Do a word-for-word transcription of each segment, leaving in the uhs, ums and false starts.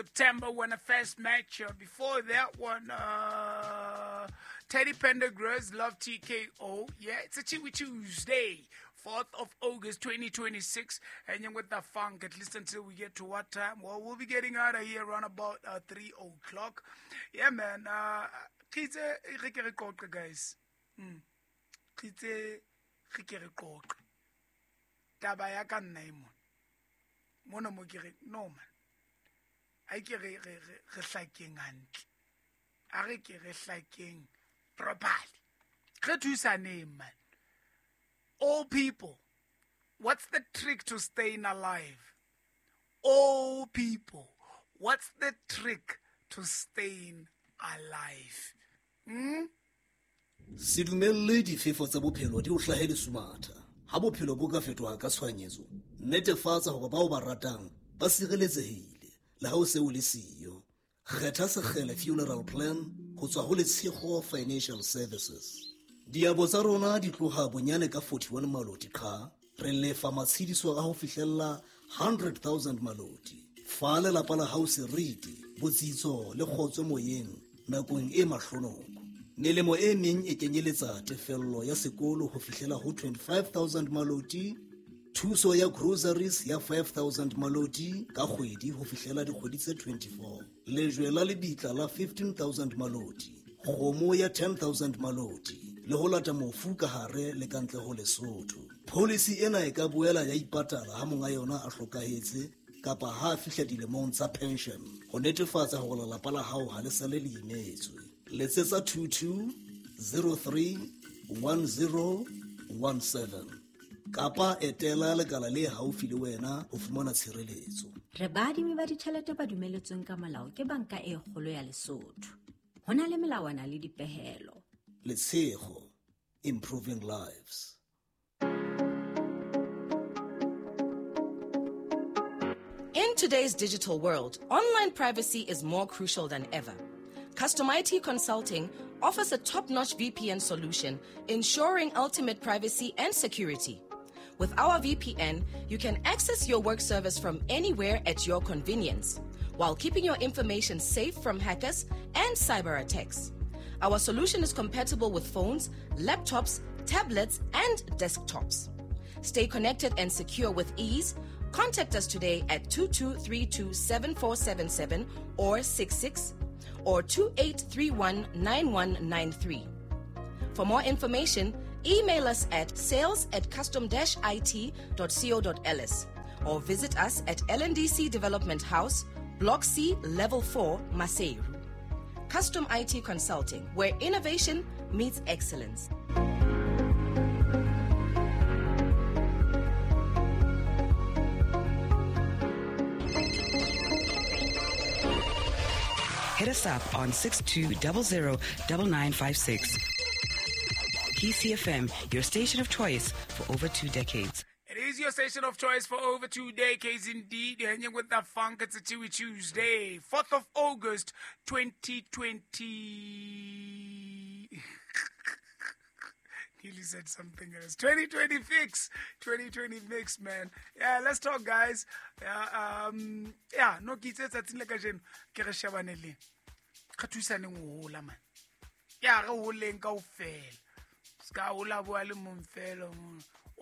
September when I first met you. Before that one, uh, Teddy Pendergrass, Love T K O. Yeah, it's a Chewy Tuesday, fourth of August, twenty twenty-six. Hanging with the funk, at least until we get to what time? Well, we'll be getting out of here around about uh, three o'clock. Yeah, man. Uh, guys. Mm. Taba ya ka nna e mona. Mona mo ke re, no man. A ke re re re hlakeng hantle. A re ke re hlakeng properly. Re thusaneng, man. All people, what's the trick to staying alive? All people, what's the trick to staying alive? Hmm? Se dumelle difefo tsa bophelo di o hlahe lesumatha. Ha bophelo bo ka fetoha ka tshohanyetso, netefatsa hore bao ba ratang ba sireletsehile le ha o se o le siyo. Kgetha Sekgele Funeral Plan ho tswa ho Letshego Financial Services. Diabo tsa rona di tloha bonyane ka forty-one maloti qha, re lefa matshediso a ho fihlella one hundred thousand maloti. Fa lelapa la hao seriti, botsitso le kgotso moyeng nakong e mahlonoko. Melemo e meng e kenyeletsa tefello ya sekolo ho fihlela ho twenty-five thousand maloti, thuso ya groceries ya five thousand maloti ka kgwedi ho fihlela dikgwedi tse twenty-four, lejwe la lebitla la fifteen thousand maloti, kgomo ya ten thousand maloti, le ho lata mofu ka hare le ka ntle ho Lesotho. Policy ena e ka boela ya ipatala ha monga yona a hlokahetse kapa ha a fihla dilemong tsa pension ho netefatsa hore lelapa la hao ha le sale le imetswe. Letsetsa two two zero three one zero one seven kapa etela lekala le haufi le wena ho fumana tshireletso. Re baadimi ba ditjhelete ba dumeletsweng ka molao ke Banka e Kgolo ya Lesotho. Ho na le melawana le dipehelo. Letshego, improving lives. In today's digital world, online privacy is more crucial than ever. Custom I T Consulting offers a top-notch V P N solution, ensuring ultimate privacy and security. With our V P N, you can access your work service from anywhere at your convenience, while keeping your information safe from hackers and cyber attacks. Our solution is compatible with phones, laptops, tablets, and desktops. Stay connected and secure with ease. Contact us today at two two three two seven four seven seven or six six or two eight three one nine one nine three. For more information, email us at sales at custom dash I T dot co dot L S or visit us at L N D C Development House, Block C, Level four, Maseru. Custom I T Consulting, where innovation meets excellence. Hit us up on six two zero zero nine nine five six. P C F M, your station of choice for over two decades. It is your station of choice for over two decades indeed. You're hanging with the funk. It's a Chewy Tuesday, fourth of August, twenty twenty. Nearly said something else. twenty twenty-six. twenty twenty-six, man. Yeah, let's talk, guys. Yeah, um, yeah, no ke itse tsatsing le kajeno ke re shebane le re thusaneng ho hola, man. Yeah, re holeng kaofela. Ska hola bua le mong fela.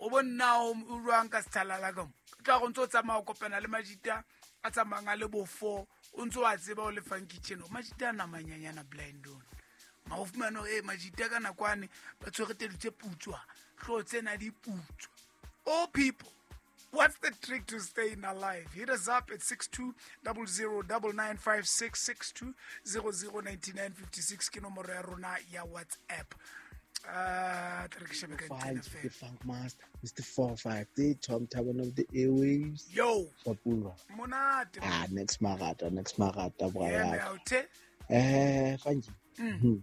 O bonna o ruang ka sethalala ka mo. Tla go ntse o tsamaya o kopana le majita a tsamayang a le bo four, o ntse wa tseba o le fang kitchen. Majita a namanyanyana blind on. Ma o fumana hore, eh, majita ka nakwane ba tshwere tedu tse putswa, hlooho tsena di putswa. All people, what's the trick to staying alive? Hit us up at six two zero zero nine nine five six, six two zero zero nine nine five six ke nomoro ya rona ya WhatsApp. Uh, Five, the Funk Master, Mister Four Five, the Tom Tavern of the Airwaves. Yo, Shapula. Monate. Ah, next Marata, next Marata, brother. Yeah, eh, thank you. Mm.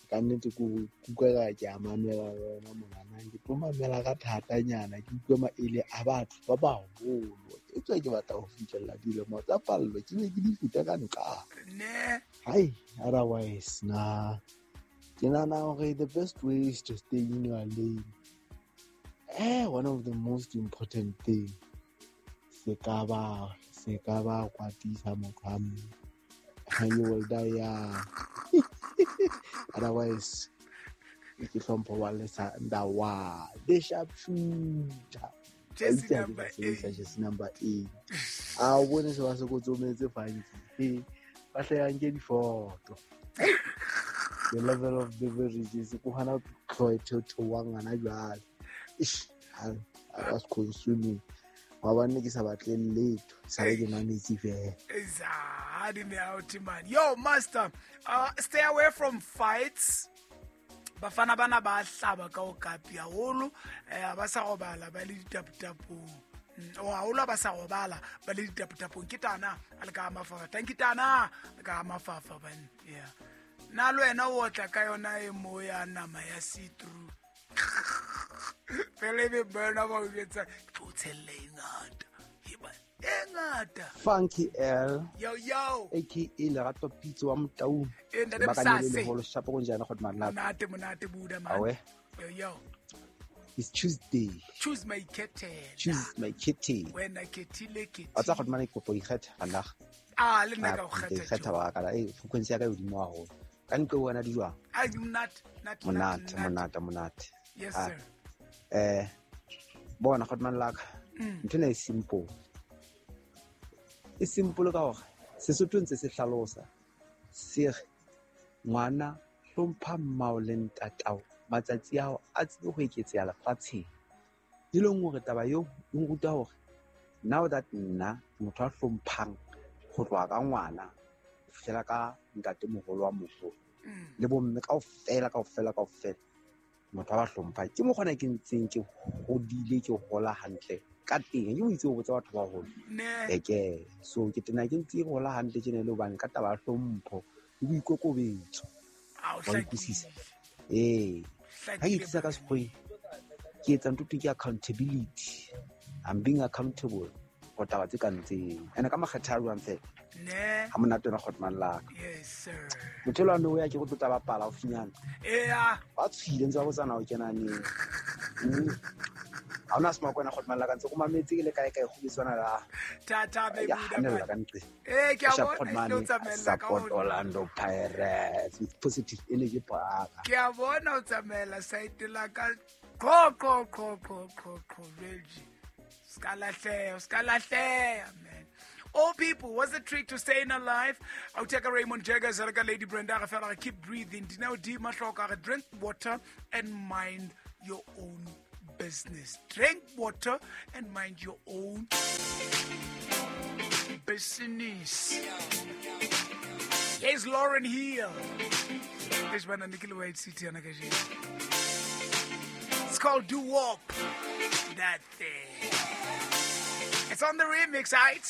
Ka nnete ko kuka ke a mamela wena mongana ke tlo mamela ka thatanyana ke utlwe maele a batho ba baholo ke tswa ke batla ho fihlella dilemo tsa pallo ke be ke di feta ka nqa ne hai otherwise na ke nahana hore the best way is to stay in your lane. Eh, one of the most important thing se ka ba Se ka ba kwatisa motho a mme. You will die young. Otherwise, ke hlompho wa lesa ndawa. The sharpshooter. Jersey number eight. Jersey number eight. A o bone se ba se kotsometse funky. Ba hle nke difoto. The level of beverages ko hana tlo to ngwana jwale. Ish, I was consuming. Wa bane ke sa batle letho, sa ke mametse fela. Exactly, me out man. Yo master, uh, stay away from fights. Bafana bana ba hlaba ka o kapi haholo, eh ba sa robala ba le ditapotapong. O haholo ba sa robala ba le ditapotapong ke tana a le ka mafafa. Thank you tana, le ka mafafa ban. Yeah. Na le wena o tla ka yona e mo ya nama ya see through. Fele be burna ba o etsa tlo tshelle e ngata. Heba e ngata. Funky L. Yo yo. A K A Lerato Pitso wa Motaung. E ntate Msase. Holo shapo konjana go madla. Monate monate buda man. Awe. Yo yo. It's Tuesday. Choose my khethela. Choose my khethela. Wena khethile khethile. A tsa go mane kopo ikgetha Allah. Ah le nna ka go kgetha. Ikgetha wa ka la e frequency ya ka e hodimo haholo. Ka ntlo wena di jwang? Ai monate, monate, monate, monate, monate. Yes sir. Eh bona go man laka. Ntho ena e simple. E simple ka hore Sesotho ntse se hlalosa se re ngwana hlompha mmao le ntatao matsatsi ao a tsebe ho eketseha lefatsheng. E leng hore taba eo e nruta hore now that nna ke motho a hlomphang ho tloha ka ngwana ho fihlela ka ntatemoholo wa moholo le bomme kaofela kaofela kaofela motho a ba hlomphang. Ke mokgwa ke ntseng ke hodile ke hola hantle ka teng. Ke o itse ho botsa batho ba baholo. Eke so ke tena ke ntse ke hola hantle tjena le hobane ka taba ya hlompho le boikokobetso. Wa utlwisisa? Eh, ha ke tlisa ka sekgoeng ke etsa ntho ke accountability. I'm being accountable for taba tse kang tseo. Ene ka makgetha a jwang fela. Ne. Ha monate wena Kgotman laka. Yes sir. Motho elwa no ya ke go tlotla bapala haufinyana. Eya. Ba tshwile ntse ba botsana o kena neng. Ha ona sema kwena Kgotman laka ntse go mametse ke le kae kae go bitswana la. Tata baby. Ya hanella ka ntle. Eh ke a bona o tsamaella ka support Orlando Pirates with positive energy park. Ke a bona o tsamaela side la ka go go go go go go Reggie. Ska lahleha, ska lahleha man. All people, what's the trick to staying alive? I'll take a Raymond Jaggers, Lady Brenda, keep breathing. Dineo D Mahloka, drink water and mind your own business. Drink water and mind your own business. Here's Lauren Hill. It's called Do Wop. That thing. It's on the remix, right?